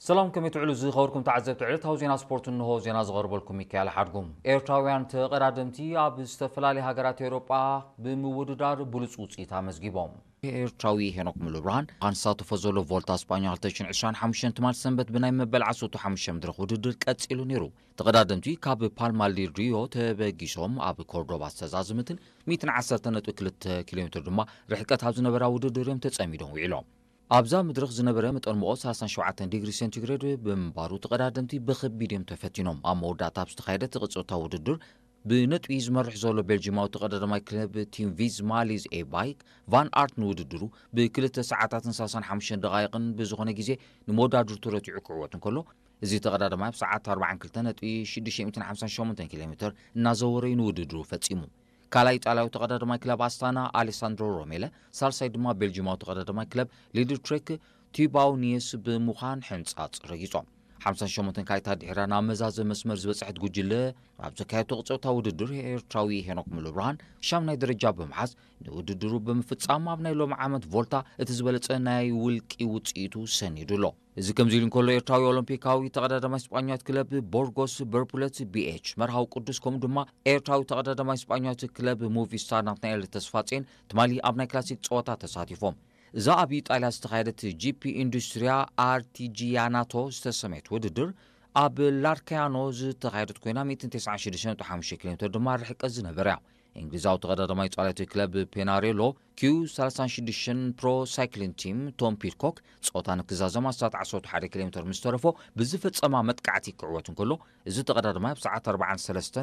ሰላም፣ ከመይ ትውዕሉ ዝኸበርኩም ተዓዘብቲ ዕለታዊ ዜና ስፖርት? እንሆ ዜና ዝቐርበልኩም ሚካኤል ሓድጉም። ኤርትራውያን ተቐዳደምቲ ኣብ ዝተፈላለዩ ሃገራት ኤውሮጳ ብምውድዳር ብሉጽ ውጽኢት ኣመዝጊቦም። ኤርትራዊ ሄኖክ ሙሉብርሃን ኣብ ዝሳተፎ ዘሎ ቮልታ ስጳኛ ክልተ ሽሕን ዕስራን ሓሙሽተን ትማል ሰንበት ብናይ መበል ዓሰርተ ሓሙሽተ መድረኽ ውድድር ቀጺሉ ነይሩ። ተቐዳደምቲ ካብ ፓልማ ዲል ሪዮ ተበጊሶም ኣብ ኮርዶባ ዝተዛዘመትን ሚእትን ዓሰርተ ነጥቢ ክልተ ኪሎ ሜትር ድማ ርሕቀት ኣብ ዝነበራ ውድድር እዮም ተጸሚዶም ውዒሎም። ኣብዛ መድረኽ ዝነበረ መጠን ሙቐት ሰላሳን ሸውዓተን ዲግሪ ሴንቲግሬድ ብምንባሩ ተቐዳደምቲ ብኸቢድ እዮም ተፈቲኖም። ኣብ መወዳእታ ኣብ ዝተኻየደ ተቐጸታ ውድድር ብነጥቢ ዝመርሕ ዘሎ ቤልጂማዊ ተቐዳዳማይ ክለብ ቲም ቪዝማ ሊዝ ኤባይክ ቫን ኣርት ንውድድሩ ብክልተ ሰዓታትን ሰላሳን ሓሙሽተን ደቓይቕን ብዝኾነ ግዜ ንመወዳድርቱ ረቲዑ ክዕወት እንከሎ፣ እዚ ተቐዳዳማይ ኣብ ሰዓት ኣርባዓን ክልተ ነጥቢ ሽዱሽተ ሚእትን ሓምሳን ሸሞንተን ኪሎ ሜትር እናዘወረ እዩ ንውድድሩ ፈጺሙ። ካልኣይ ኢጣልያዊ ተቐዳዳማይ ክለብ ኣስታና ኣሌሳንድሮ ሮሜለ፣ ሳልሳይ ድማ ቤልጂማዊ ተቐዳዳማይ ክለብ ሊድትሬክ ቲባው ኒየስ ብምዃን ሕንጻጽ ረጊጾም። ሓምሳን ሸሞንተን ካይታ ድሒራ ናብ መዛዘ መስመር ዝበጽሐት ጉጅለ ኣብ ዘካየቶ ቅጽበታዊ ውድድር ኤርትራዊ ሄኖክ ሙሉብርሃን ሻምናይ ደረጃ ብምሓዝ ንውድድሩ ብምፍጻም ኣብ ናይ ሎሚ ዓመት ቮልታ እቲ ዝበለጸ ናይ ውልቂ ውጽኢቱ ሰኒዱ ኣሎ። እዚ ከምዚ ኢሉ እንከሎ ኤርትራዊ ኦሎምፒካዊ ተቐዳዳማይ ስጳኛዊት ክለብ ቦርጎስ በርፑለት ቢኤች መርሃዊ ቅዱስ ከምኡ ድማ ኤርትራዊ ተቐዳዳማይ ስጳኛዊት ክለብ ሙቪስታር ናትናኤል ተስፋጼን ትማሊ ኣብ ናይ ክላሲክ ጸወታ ተሳቲፎም። እዛ ኣብ ኢጣልያ ዝተኻየደት ጂፒ ኢንዱስትሪያ ኣርቲጂያናቶ ዝተሰመየት ውድድር ኣብ ላርካያኖ ዝተኻየደት ኮይና ሚእትን ተስዓን ሽዱሽተን ነጥቢ ሓሙሽተ ኪሎ ሜትር ድማ ርሕቀት ዝነበረ እያ። እንግሊዛዊ ተቐዳዳማይ ጻላቲ ክለብ ፔናሬሎ ኪዩ ሰላሳን ሽዱሽተን ፕሮ ሳይክሊን ቲም ቶም ፒድኮክ ጾታ ንክዛዘም ኣስታት ዓሰርተ ሓደ ኪሎ ሜትር ምስ ተረፎ ብዝፈጸማ መጥቃዕቲ ክዕወት እንከሎ፣ እዚ ተቐዳዳማይ ኣብ ሰዓት ኣርባዓን ሰለስተን